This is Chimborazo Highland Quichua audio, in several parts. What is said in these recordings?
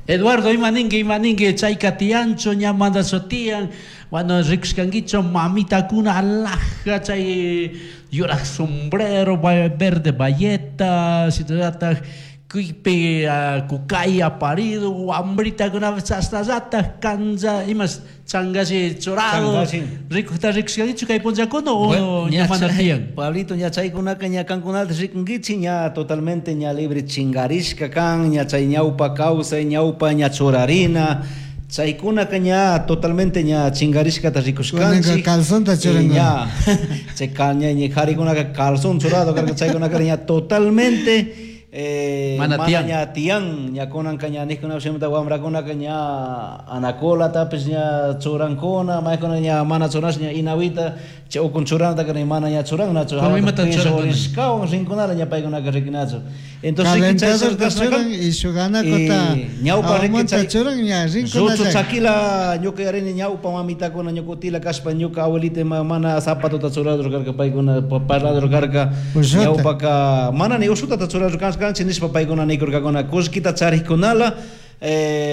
Eduardo, ima ninki, ima ninki, chayka tiyanchu, ña manachu tiyan, bueno, rikushkankichu mamitakuna alhaja chay yuraj sombrero, verde bayeta, shinallatak kuypi kukay aparido, wambritakunapish chashnallatak cancha, imash changashi churado, rikukta rikushkankichu kay punllakuna o ña mana tiyan? Pablito, ña chaykunaka ña kankunata rikunkichik, ña totalmente ña libre chingarishka kan, ña chay ñawpa kawsay, ñawpa ña churarina, chaykunaka ña totalmente ña chingarishkata rikushkanchik. Kunanka calzonta churankuna. Ña, chay ña karikunaka calzón churado karka, chaykunaka ña totalmente Mana mana tiyan. ña tiyan, ña kunanka ña nijkuna shimita wamrakunaka ña anacolatapis ña churankuna, maykuna ña mana churash ña inawita, chay ukun churanataka ni mana ña churannachu. Pero imata churankuna? Rishkawan rinkunala ña paykunaka rikinachu. Entonces, chay Calentadorta churashka churan y shuk anacota ñawpa riki aumanta chay churan ña rinkunalla. Ruchu chakila ñuka yarini ñawpa mamitakuna ñuka utila kashpa ñuka abuelita mana zapatota churador karka paykuna parlador karka. Ushuta. Ñawpaka mana ni ushutata churador kanchi nishpa paykuna nikurkakuna kullkita charikkunala,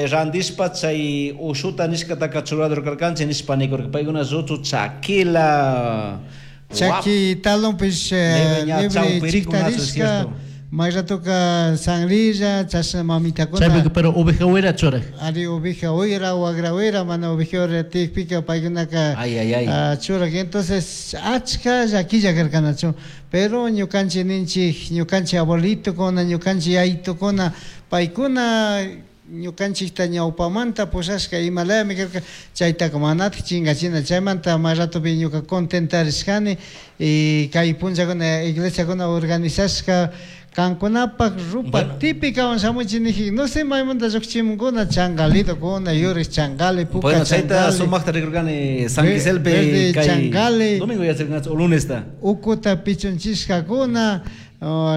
randishpa chay ushuta nishkataka churador karkanchik nishpa nikurka paykuna ruchu chakila. Chaki talonpish, Libre ña libre chawpirikunachu, chiktarishka, cierto. may ratoka sangrilla, chashna mamitakuna. Chaypika, pero oveja wira churaj. Ari oveja wira, wagra wira, mana oveja wira tiyakpika paykunaka, Ay, ay, ay. Churaj. Entonces, achka llaquilla karkanachu. Pero ñukanchik ninchik, ñukanchik abuelitokuna, ñukanchik yayitokuna, paykuna ñukanchikta ñawpamanta pushashka imalayami karka, chaytaka manatik chingachina. Chaymanta may ratopi ñuka contentarishkani y kay punllakuna iglesiakuna organizashka kankunapak rupa Bueno. típica shamuchi niji, no sé maymanta llukchimunkuna, changalidokuna, yurik changali, puka Bueno, chayta changali. sumakta rikurkani San Quiselpe Verde kay changali. Domingo yacharkanchik o lunesta. Ukuta pichunchishkakuna,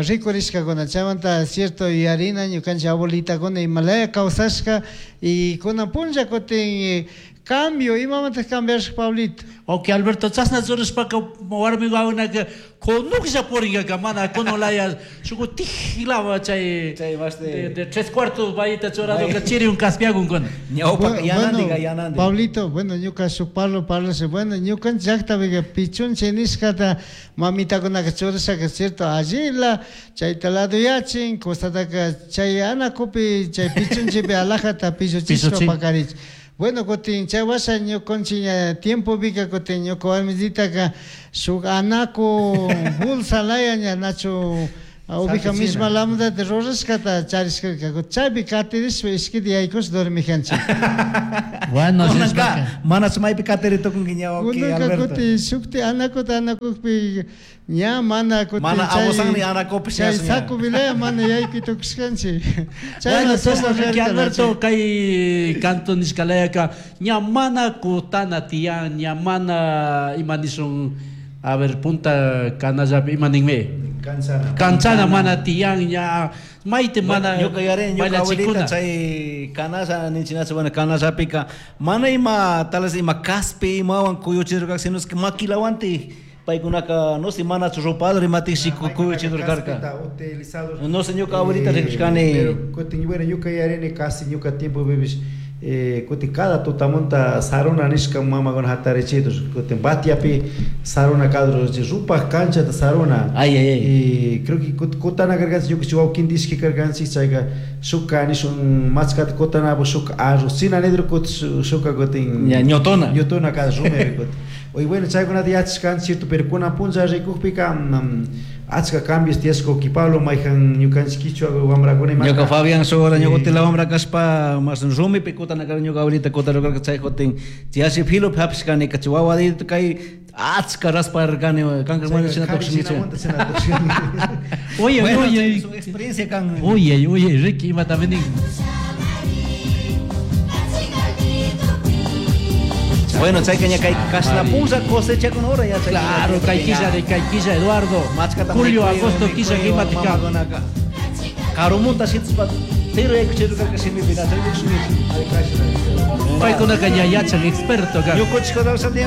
rikurishkakuna. Chaymanta cierto yuyarina ñukanchik abuelitakuna imalaya kawsashka y kunan punlla kutin cambio, imamanta cambiashka, Pablito? Ok, Alberto, chashna churashpaka warmi wawanaka kunuklla purinkaka, mana kunulaya shuk tiklawa chay Chay más de de tres cuartos bayita churadoka Bay. chiriun kaspiakunkuna. Ñawpa Bueno, yanandiga, bueno, yanandi. Pablito, bueno, ñuka shuk parlo parlasha, bueno, ñukanchik llaktapica pichunche nishkata mamitakunaka churashaka, cierto, allila chayta laduyachin, costataka chay anakupi, chay pichunchepi alajata pilluchishpa Pilluchin. pakarich. Bueno, kutin chay washa ñukanchik ña tiempopika kutin ñuka warmisitaka shuk anaku bolsa laya ña nachu oveja Sapichina. misma lamdata rurashkata charishkarka. Chaypi katirishpa ishkita yaykush dormijanchik. Bueno, Kunanka, sishpaka. mana maypi katiri tukunki ña, ok, Kunanka Alberto. kutin shukti anakuta anakukpi ña mana kutin Mana chay abusanni anakupish chay ña. saco vilaya mana yaykuy tukushkanchik. Chay Bueno, mana chashna sumak riki, karka, Alberto, nachu. kay canto nishkalayaka ña mana kutana tiyan, ña mana ima nishun, a ver, punta kanallapi ima ninmi? Canchana. Canchana mana tiyan, ña mayte mana Bueno, ñuka yarini, ñuka abuelita bailachikuna. chay canalla ninchinachu, bueno, canallapika mana ima, tal vez ima caspi imawan kuyuchirka, sino es que maquilawanti paykunaka, no sé, manachu ropador imatiksi kuyuchirkarka. Caspita utilizado. No sé, ñuka abuelita rikushkani. Pero kutin, bueno, ñuka yarini casi ñuka tiempo bebis, kutin cada tutamunta saruna nishka mamakuna hatarichidos, kutin batiapi saruna kadro, rupaj canchata saruna. Ay, ay, ay. Y creo que kutana karkanchik, ñuka wawkin dishki karkanchik, chayka shuka nishun machkata kutanapu shuka arroz, china nidro kut shuka kutin Ña, ñotona. Ñotona kada rumipi kutin. Oye, bueno, chaykunata yachashkanchik, cierto, pero kunan punlla rikukpika, achka cambios tiyashka, uki Pablo, mayjan ñukanchik kichwa wamrakuna imaka. Ñuka Fabián Sora, ñuka utila wamra kashpa, mas rumipi kutana karka, ñuka abuelita kutana karka, chay kutin, chiashi filo hapishkani, chay wawadito kay achka rasparkani, kanka Chayka mana shina kari tukshinkichu. shina munta shina tukshinki. Oye, Bueno, oye, chay su experiencia kan. Oye, oye, Ricky, ima también nin. Bueno, chayka ña kay kashna punlla cosecha con hora ya chay Claro, ña kay quilla de kay quilla, Eduardo. Machkata Julio, mikuy, agosto, mikuy, quilla, kimatika. mamakunaka. Karumunta shitshpa, tiro yaykuchirka shimipi, na, chay Paykunaka ña yachan experto ka. Ñukuchik